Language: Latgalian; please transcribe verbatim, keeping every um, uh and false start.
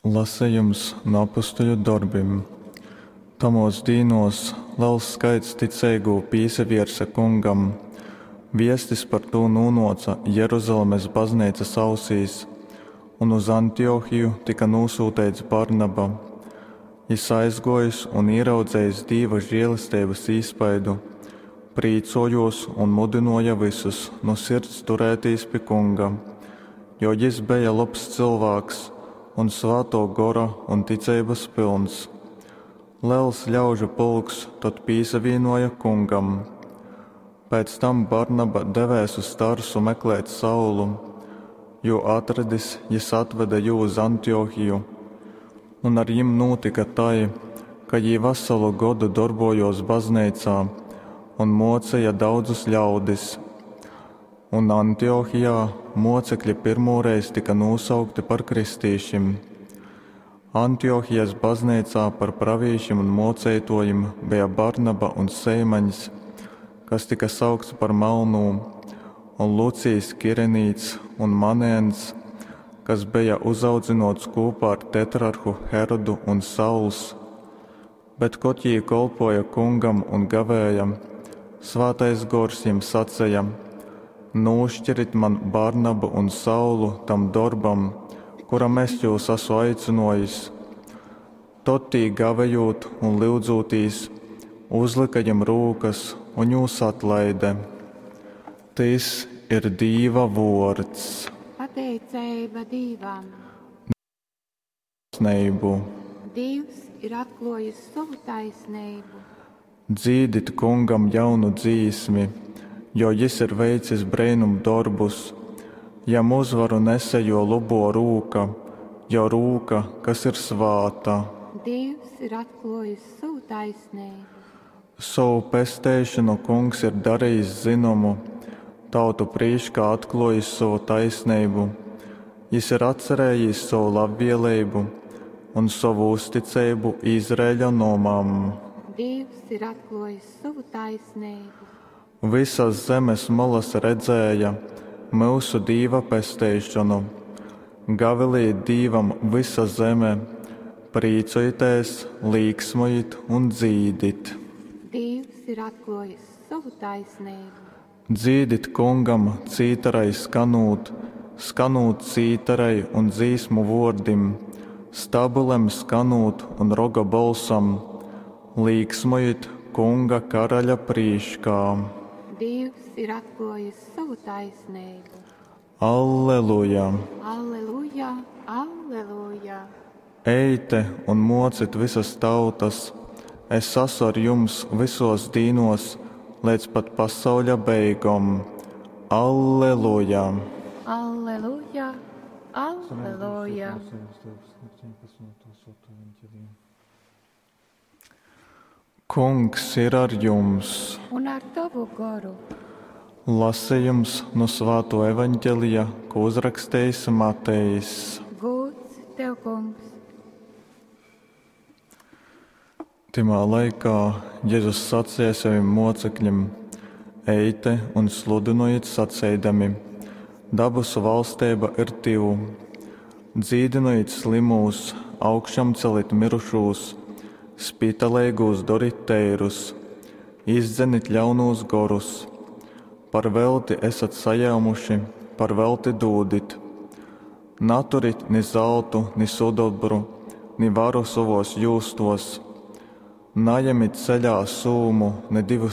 Lasejums nu Apustuļu dorbim. Tamuos dīnuos lels skaits ticeigū pīsavierse Kungam. Viestis par tū nūnōca Jeruzalemes bazneicas ausīs, un uz Antiochiju tyka nūsyuteits Barnaba. Jys aizgōjis un īraudzejis Dīva želesteibas īspaidu, prīcōjōs un mudynōja vysus nu sirds turētīs pi Kunga, jo jys beja lobs cylvāks un Svātō Gora un ticeibas pylns. Lels ļaužu pulks tod pīsavīnōja Kungam. Pēc tam Barnaba devēs uz Tarsu meklēt Saulu. Jū atradis, jys atvede jū uz Antiochiju. Un ar jim nūtyka tai, ka jī vasalu godu dorbōjōs bazneicā un mōceja daudzus ļaudis. Un Antiochijā mōcekļi pyrmūreiz tyka nūsaukti par kristīšim. Antiochijas bazneicā par pravīšim un mōceitōjim beja Barnaba un Seimaņs, kas tyka saukts par Malnū, un Lucijs Kirenīts un Manēns, kas beja uzaudzynōts kūpā ar tetrarhu Herodu, un Sauls. Bet, kod jī kolpōja Kungam un gavēja, Svātais Gors jim saceja: Nūškirit man Barnabu un Saulu tam dorbam, kuram es jūs asu aicynōjis. Tod tī gavejūt un lyudzūtīs, uzlyka jim rūkas un jūs atlaide. Tys ir Dīva vōrds. Pateiceiba Dīvam. Taisneibu. Dīvs ir atklōjis sovu taisneibu. Dzīdit Kungam jaunu dzīsmi, jo jys ir veicis breinumdorbus. Jam uzvaru nese jō lobō rūka, jō rūka, kas ir svāta. Dīvs ir atklōjis sovu taisneibu. Sovu pesteišonu Kungs ir darejis zynomu, tautu prīškā atklōjis sovu taisneibu. Jys ir atcerējīs sovu labvēlību un sovu uzticeibu Izraeļa nomam. Dīvs ir atklōjis sovu taisneibu. Visas zemes molas redzēja myusu Dīva pesteišonu. Gavilejit Dīvam vysa zeme, prīcojitēs, līksmojit un dzīdit. Dīvs ir atklōjis sovu taisneibu. Dzīdit Kungam cītarai skanūt, skanūt cītarai un dzīsmu vōrdim, stabulem skanūt un roga bolsam, līksmojit Kunga karaļa prīškā. Dīvs ir atklōjis sovu taisneibu. Alleluja! Alleluja, alleluja! Eite un mocit visas tautas, es asu ar jums vysos dīnos leidz pat pasauļa beigom. Alleluja! Alleluja, alleluja! Kungs ir ar jums! Un ar tavu goru. Lasījums no Svāto evaņģelija, ko uzrakstījis Matejs. Gūds tev, kungs! Timā laikā Jēzus sacīja saviem mocekļiem: Eite un sludinojiet saceidami: Dabasu valstība ir tuvu. Dzīdinojiet slimūs, augšām celit mirušūs, spitaleigūs dorit teirus, izdzenit ļaunūs gorus. Par velti esat sajēmuši, par velti dūdit. Naturit ni zeltu, ni sudobru, ni varu savos jūstos. Najemit ceļā sūmu, ne divus